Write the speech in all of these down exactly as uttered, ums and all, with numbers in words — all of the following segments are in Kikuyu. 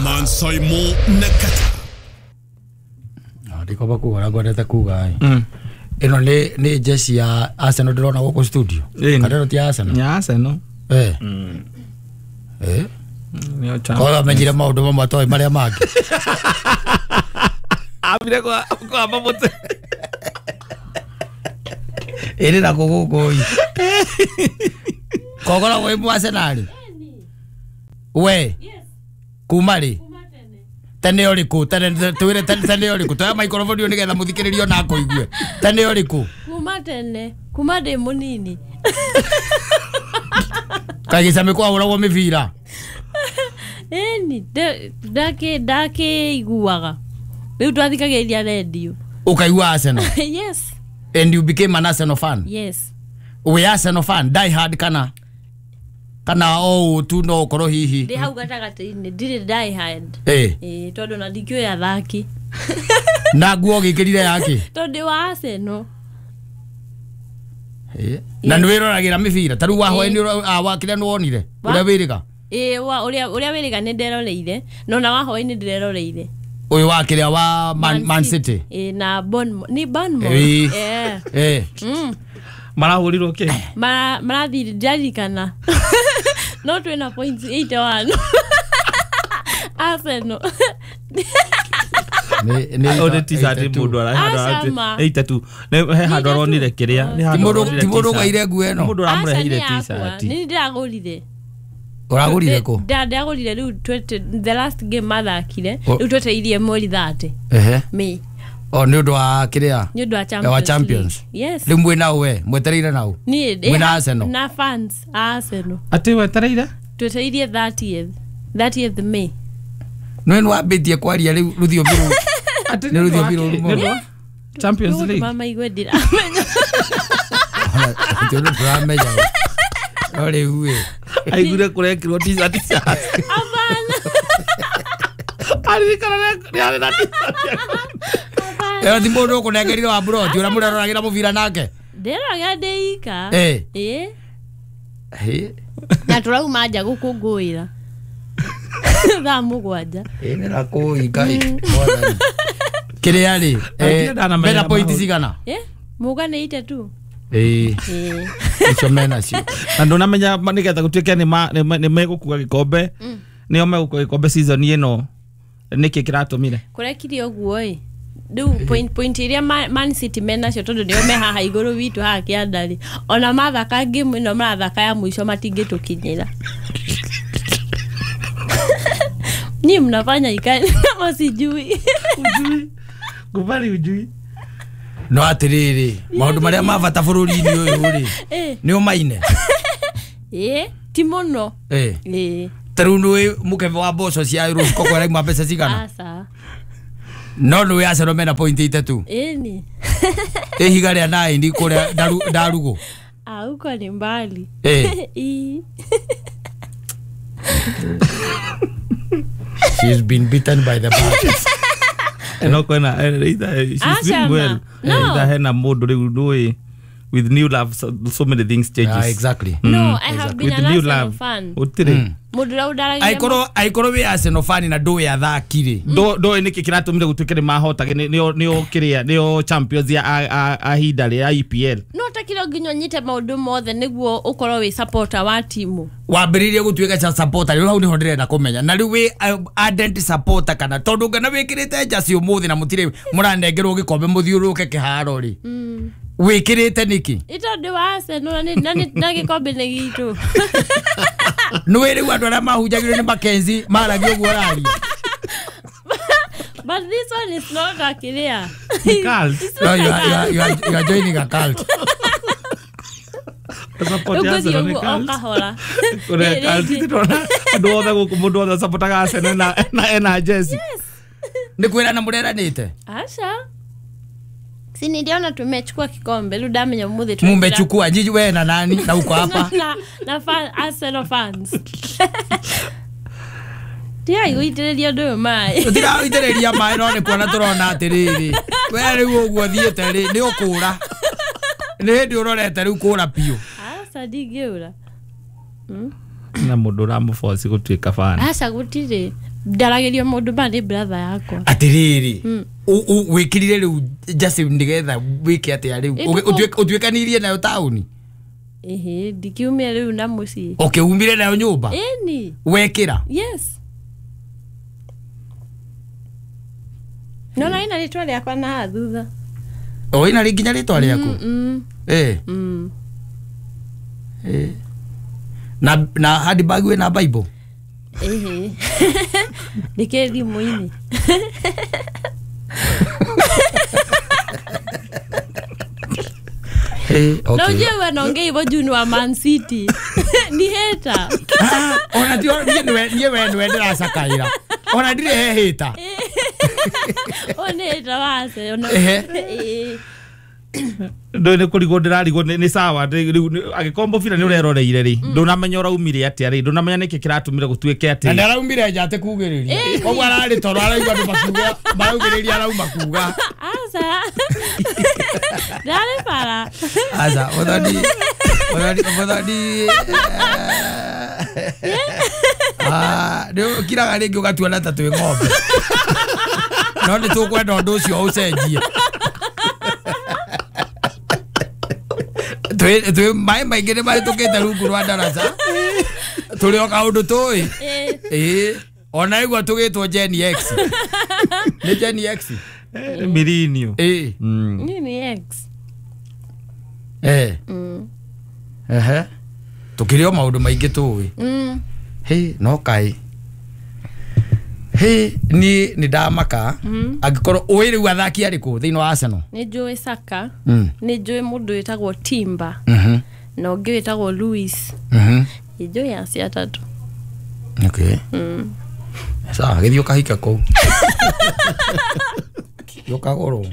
Mansaimo Nakata. Ndikoba kuga ngwendete kuga ĩ ĩno nĩ nĩ jeshi ya Arsenal ndĩrona gũkũ studio kana ĩno ti Arsenal ya Arsenal eh eh nĩo cha kwa menyire maũndũ mamwe atoĩ marĩa mangĩ ambire kwa kwa mamote ĩrĩ na gũgũkũ ĩ kogora wĩ mu Arsenal we kuma rĩ tene ũrĩkũ tene twĩre tene ũrĩkũ toya microphone nĩgetha mũthikĩrĩrio na akũigue tene ũrĩkũ kuma tene kuma ndĩ mũnini kagĩcamĩ kwahũragwo mĩbira ĩni ndakĩ ndakĩiguaga rĩu twathikagĩrĩria redio ũkaigua Arsenal yes and you became an Arsenal fan yes we Arsenal fan die hard kana kana o tu no ũkorwo hihi ndĩ hau gatagatĩ-inĩ ndirĩ die hard eh eh tondũ na ndikĩũĩ athaki na nguo gĩkĩrire yake tondũ ndĩ wa Arsenal eh na nĩ wĩroragĩra mĩbira ta rĩu wa hwaĩ-inĩ wa kĩrĩa nĩ wonire ũrĩa wĩrĩga ĩĩ wa ũrĩa ũrĩa wĩrĩga nĩ nderoreire no na wa hwaĩ-inĩ ndĩreroreire ũyũ wa kĩrĩa wa Man, Man City ĩĩ na Bournemouth ni Bournemouth eh eh marahũrirwo kĩ mara marathire ndirarikana no twĩna points eighty-one Arsenal nĩ nĩ nĩ t-shirt mũndũ arahanda eighty-two nĩ he handũ aronire kĩrĩa nĩ handũ ti mũndũ ũgaire nguo ĩno mũndũ ũramũreheire t-shirt nĩ ndĩragũrire ũragũrire kũ ndagũrire rĩu the last game mathakire rĩu twetereirie mweri thirty ehe May o nĩ ũndũ wa kĩrĩa nĩ ũndũ wa Champions wa Champions yes rĩu mwĩ nao we mwetereire nao niĩ mwĩ na Arsenal na fans a Arsenal atĩ wetereire twetereirie thirtieth thirtieth May nĩ nĩ wambĩtie kwaria rĩu rũthiomi rũu atĩ nĩ rũthiomi rũru mũno Champions League mama igue ndiramenya tondũ ndũramenya no rĩu ĩ aiguire kũrekĩrwo t-shirt cia hapana aririkana nĩ arĩ na t-shirt ĩyo ti mũndũ ũkũnengerire wa mburoti ũrĩa mũreroragĩra mũbira nake ndĩroraga ndĩ ika ĩ ĩ na tũrauma nja gũkũngũĩra thaa mũgwanja ĩ nĩ rakũi Ngai mwathani kĩrĩa rĩ mena pointi cigana mũga nĩ eighty-two ĩ icio mena cio na ndũnamenya nĩgetha gũtuĩke nĩ megũkua gĩkombe nĩo megũkua gĩkombe season ĩno nĩkĩ kĩratũmire kũrekire ũguo ĩ rĩu point point iria Man City menacio tondũ nĩo me haha igũrũ witũ haha kĩanda rĩ ona mathaka game ĩno marathaka ya mũico matingĩtũkinyĩra Ni mnafanya ikae kama sijui ujui kubali ujui no atiriri maundu maria ma bata bururi-inĩ ũyũ rĩ nĩ ũmaine ĩ ti mũno ĩ ĩ ta rĩu nĩ mũkebe wa mboco cia rũciko kwarauma mbeca cigana aca no nĩ Arsenal mena point itatu ĩni ihiga rĩa nine kũrĩa ndarugũ ah huko ni mbali ĩ She's been beaten by the bad. No kwena she's doing well. Either hena mũndũ rĩu ndũĩ with new love so, so many things changes. Ah, exactly. No, mm. I have been with an new Arsenal love. fan. Utire. Mũndũ ũrĩa ũndaragia Aikorwo aikorwo wĩ Arsenal fan na ndũĩ athaki rĩ. Ndo ndo nĩkĩ kĩratũmire gũtuĩke nĩ mahotage nĩo nĩo kĩrĩa nĩo champions ya a ihinda rĩa E P L. No takiro nginya ũnyite maũndũ mothe nĩguo ũkorwo wĩ supporter wa timu. Wambĩrĩirie gũtuĩka cha supporter rĩu hau nĩho ndĩrenda kũmenya na rĩu wĩ ardent supporter kana tondũ ngana wĩkĩrĩte jersey ũmũthĩ na mũtirĩ mũranengerwo gĩkombe mũthiũrũrũke kĩharo rĩ. Wĩkĩrĩte nĩkĩ? Ĩ tondũ wa Arsenal na na gĩkombe nĩ gitũ. Nĩwĩ rĩu andũ arĩa mahunjagĩrio nĩ Mackenzie maragia ũguo ũraria. But this one is not a clear. Cult. No, you are, you are, you are, you are joining a cult. Support Arsenal nĩ cult. Kũrĩa cult ndĩrona andũ othe gũkũ mũndũ othe supportaga Arsenal na na ena jersey. Nĩ kwĩrana mũreranĩte? Aca. Si niliona tumechukua kikombe rĩu ndamenya mũthĩ tu. Mumechukua nyinyi wewe na nani na uko hapa? Na na fan Arsenal fans. Tia igũitĩrĩria ũndũ ũyũ maĩ. Tũtiraũitĩrĩria maĩ no nĩ kuona tũrona atĩrĩrĩ. We rĩu ũguo thiĩte rĩ nĩ ũkũra. Nĩ hĩndĩ ũrorete rĩu kũra biũ. Aca ndingĩũra. Mm. Na mundu uramuforce gutuika fan. Aca gutire ndaragerio mundu ma ni brother yakwa. Atiriri wikirire riu jersey nigetha wike atia riu utuikanirie nayo tauni? Ehe, ndikiumia riu na mucii. Okay, umire nayo nyumba? Eni. Wekira? Yes. No na ina ritwa riakwa na thutha. O ina ri nginya ritwa riaku? Mm. Eh. Mm. Eh. Na na handbag we na Bible? Ehe. Nike thimu-ini. Hey, okay. Na ujue wanaongea hivyo juu ni wa Man City. Ni hater. Ah, ona ti niĩ nĩwe niĩ we nĩwe ndĩracakaĩra. Ona ndirĩ he hater. O nĩ hater wa Arsenal. Ehe. Ndå nä kå rigwo ndä rarigwo nä sawa agä må bira nä å reroreire rä ndå namenya å raumire atä rä ndå namenya nä kä kä ratå mire gå tuä ke atä na nä araumire nja atä kugä rä ria koguo ararä toro araigua andå makiuga maraugä rä ria arauma kuga aca ndarä bara aca må thoni må thoni nä å kiraga rä ngä å gatuona ta twä ng'ombe no nä tå kwenda å ndå å cio å cenjie. Twi maä maingä nä mahätå kä te rungu rwa ndaraca tå rä o kaå ndå tå ä ä ona igua tå gä two Gen X nä Gen X mirinio ä nini X eh ehe tå kä rä o maå ndå maingä tå ä hä no kaä hä niä nä ndamaka angä korwo å ä rä u athaki arä kå thä inä wa Arsenal? Nä njå Saka, nä njå må ndå wä tagwo Timber na å ngä wä tagwo Louis. Nä njå acio atatå. Okay. Sawa, gä thiä å kahika kå u å kagå rwo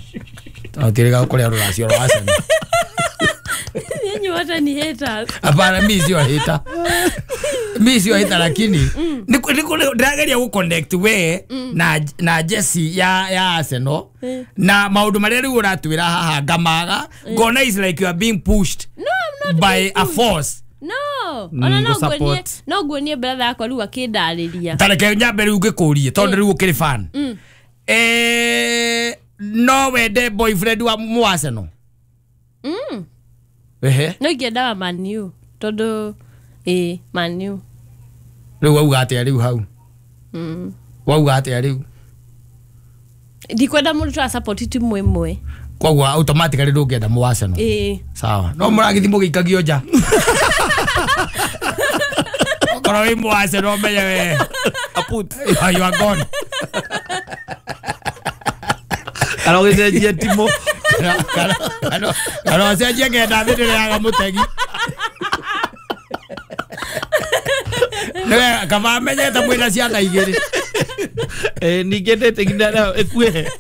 tirä ga kå rä a rå racio rwa Arsenal. Nyinyi wote ni haters. Hapana, mimi sio hater. Mimi sio hater lakini niko niko ndirageria gu connect we na na Jesse ya ya Arsenal na maundu maria riu uratwira haha ngamaga ngona is like you are being pushed. No, I'm not by a force. No, ona no nguonie no nguonie brother yakwa riu akindariria. Tareke nyambe riu ngikurie tondu riu ukiri fan. Eh no wende boyfriend wa mu Arsenal. Mm. Ehe. No ingĩenda wa Man U tondu eh Man U. Rĩu wauga atĩa rĩu hau? Mm. Wauga atĩa rĩu? Ndikwenda mũndũ twa support timu ĩmwe. Koguo automatically ndũngĩenda mũ Arsenal. Eh. Sawa. No mũragĩthi mũgĩikagio nja. Okorwo wĩ mũ Arsenal menye we. Aput. You are gone. Arogĩcenjia timu. Kana ũcenjie ngenda thĩ ndĩrĩaga mũtegi. Nĩwe kaba menyete mwĩna ciana igĩrĩ. Eh ningĩ ndĩtĩkia ĩkuĩhe.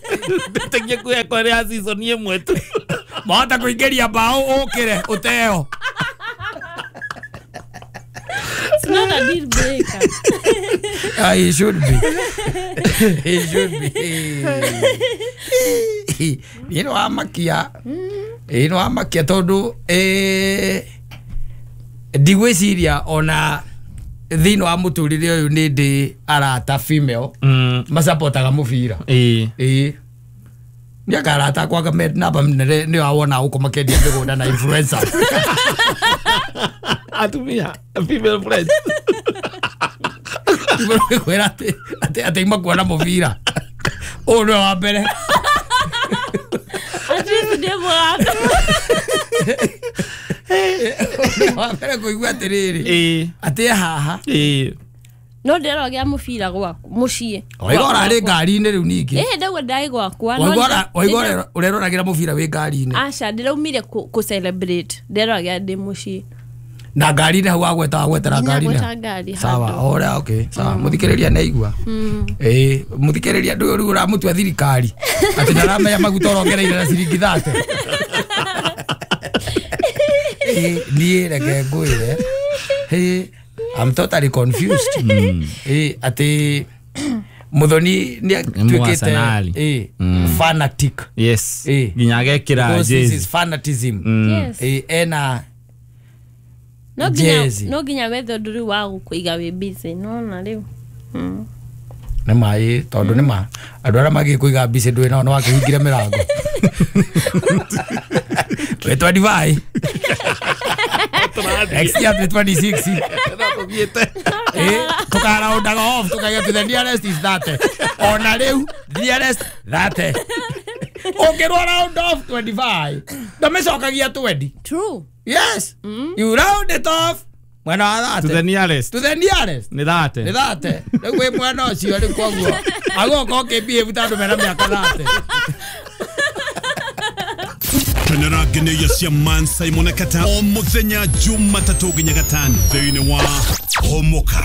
Ndĩtĩkia ĩkuĩhe kwa rĩa season ĩmwe tu. Mahota kũingĩria mbaũ ũkĩre ũteo. It's not a deal breaker. Ah, it should be. It should be. Niĩ nĩ wamakia. Ĩĩ nĩ wamakia tondũ eh ndigwĩciria ona thĩinĩ wa mũtũrĩre ũyũ nĩ ndĩ arata female macapotaga mũbira. Ĩĩ. Ĩĩ. Nĩ akarata akwa me namba nene nĩ wawona gũkũ makĩendia mĩgũnda na influencer. Atumia female friends. Kwĩra atĩ atĩ atĩ makuona mũbira. Ũyũ nĩwe wa mbere. At least ndĩ mũrata. Wa mbere kũigua atĩrĩrĩ. Ĩĩ. Atĩ haha. Ĩĩ. No ndĩrogea mũbira gwaku mũciĩ. Waigua ũrarĩ ngari-inĩ rĩu ningĩ. Ĩĩ ndaigua ndarĩ gwakwa. Waigua ũreroragĩra mũbira wĩ ngari-inĩ. Aca ndĩraumire kũ celebrate ndĩroragĩra ndĩ mũciĩ. Na ngari-inĩ hau wagweta wagwetera ngari-inĩ. Ngari Sawa, ora okay, sawa. Mũthikĩrĩria nĩ aigua. Ĩĩ, mũthikĩrĩria ndũyũ rĩu ũramũtua thirikari. Atĩ ndaramenya maguta ũrongereire na ciringi thate. Ĩĩ, niĩ reke ngwĩre. Ĩĩ, I'm totally confused. Ĩĩ, atĩ Muthoni nĩ atuĩkĩte ĩĩ fanatic. Yes. Ĩĩ. Nginya agekĩra Because this jezi. is fanatism. Yes. Ĩĩ, ena No nginya Jezi. no nginya wethe ũndũ rĩu wa gũkũiga wĩ busy nona rĩu. Mm. Nĩ maĩ tondũ nĩ ma andũ arĩa magĩkũiga busy ndũĩ nao nĩ wakĩhingire mĩrango. Wĩ twenty-five. Next year twenty-six. Eh, tukaraundaga off tukaiga to the nearest is that. Ona rĩu nearest that. Ũngĩrwo round off twenty-five ndamĩcokagia twenty. True. Yes. You round it off mwena wa To thate. the nearest. To the nearest. Nĩ thate. Nĩ thate. Rĩu wĩ mwena ũcio rĩu koguo agoka ũkĩbehave ta andũ mena mĩaka thate. Kenera ngeneia cia Man Simon Kata o muthenya Jumatatũ nginya gatano thĩinĩ wa Homoka.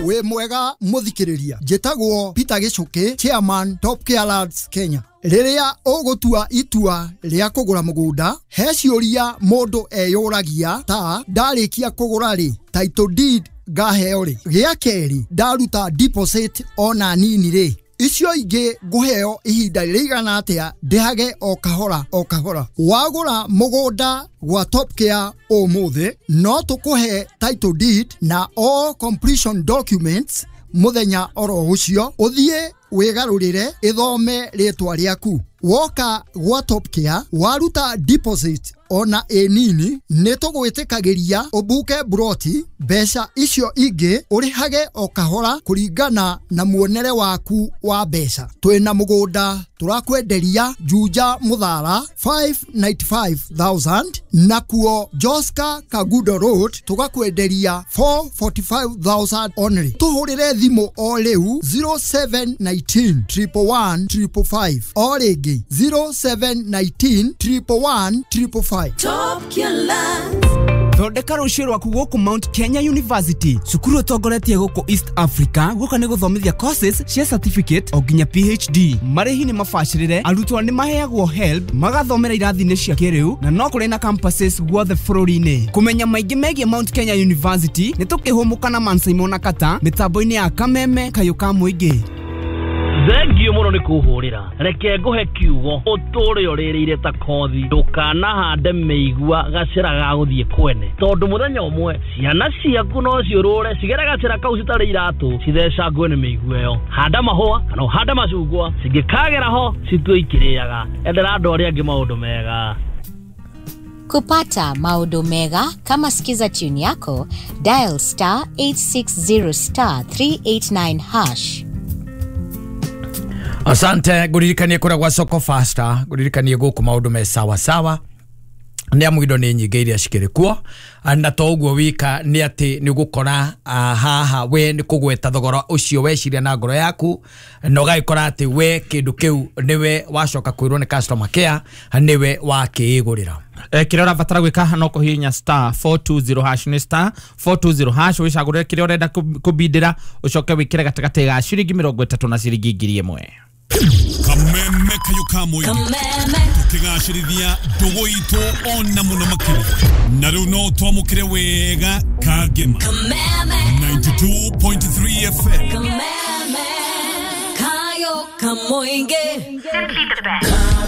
Wĩ mwega mũthikĩrĩria, njĩtagwo Peter Gĩcũkĩ, chairman Top Care Lands Kenya. Rĩrĩa ũgũtua itua rĩa kũgũra mũgũnda, he ciũria mũndũ eyũragia ta ndarĩkia kũgũra rĩ, title deed ngaheo rĩ, gĩa kerĩ ndaruta deposit ona nini rĩ, icio ingĩ ngũheo ihinda rĩigana atĩa ndĩhage o kahora o kahora. Wagũra mũgũnda gwa Top Care ũmũthĩ no tũkũhe title deed na all completion documents mũthenya oro ũcio, ũthiĩ wĩgarũrĩre ĩthome rĩtwa rĩaku. Woka gwa Top Care waruta deposit ona ĩ nini nĩ tũgwĩtĩkagĩria ũbuke broti, mbeca icio ingĩ ũrĩhage o kahora kũringana na muonere waku wa mbeca. Twĩna mũgũnda tũrakwenderia Juja Muthara five ninety-five thousand, nakuo Joska Kagudo Road tũgakwenderia four forty-five thousand only. Tũhũrĩre thimũ o rĩu zero seven nineteen triple one triple five, o rĩngĩ zero seven nineteen triple one triple five. Top Care. Thondeka rũciũ rwaku gũkũ Mount Kenya University, cukuru ũtongoretie gũkũ East Africa, gũka nĩ gũthomithia courses cia certificate o nginya P H D. Marĩhi nĩ mabacĩrĩre, arutwo nĩ maheagwo HELB, magathomera irathi-inĩ cia kĩrĩu, na no kũrĩ na campuses guothe bũrũri-inĩ. Kũmenya maingĩ megiĩ Mount Kenya University nĩ tũkĩhũmũka na Man Simon Kata mĩtambo-inĩ ya Kameme kayũ ka mũingĩ. Thengio mũno nĩ kũhũrĩra, reke ngũhe kiugo ũtũre ũrĩrĩire ta kothi, ndũkanahande mĩigua gacĩra ga gũthiĩ kwene, tondũ mũthenya ũmwe ciana ciaku no ciũrũre cigere gacĩra kau citarĩ iratũ cithecangwe nĩ mĩigua ĩyo. Handa mahũa kana ũhande macungwa, cingĩkagera ho citue ikĩrĩaga. Endera andũ arĩa angĩ maũndũ mega. Kupata maũndũ mega kama Skiza tune yako, dial star eight six zero star three eight nine hash. Asante nguririkanie kura gwa Soko Faster, nguririkanie guku maundu me sawa sawa. Nĩ amu indo nĩ nyingĩ iria cikĩrĩ kuo, na to ũguo wika nĩ atĩ nĩ ũgũkora haha we nĩ kũgweta thogora ũcio weciria na ngoro yaku, na ũgagĩkora atĩ we kĩndũ kĩu nĩwe wacoka kwĩrwo nĩ customer care nĩwe wakĩĩgũrĩra. Eh, kĩrĩa ũrabatara gwĩka no kũhihinya star four two zero hash, nĩ star four two zero hash, wĩcagũrĩre kĩrĩa ũrenda kũbindĩra, ũcoke wĩkĩre gatagatĩ ga ciringi mĩrongo ĩtatũ na ciringi ngiri ĩmwe. Kameme kayo ka mũingĩ tũkĩgacĩrithia ndũgũ itũ ona mũno makĩria, na rĩu no twamũkĩre wega Kangema ninety-two point three F M. Kameme kayo ka mũingĩ.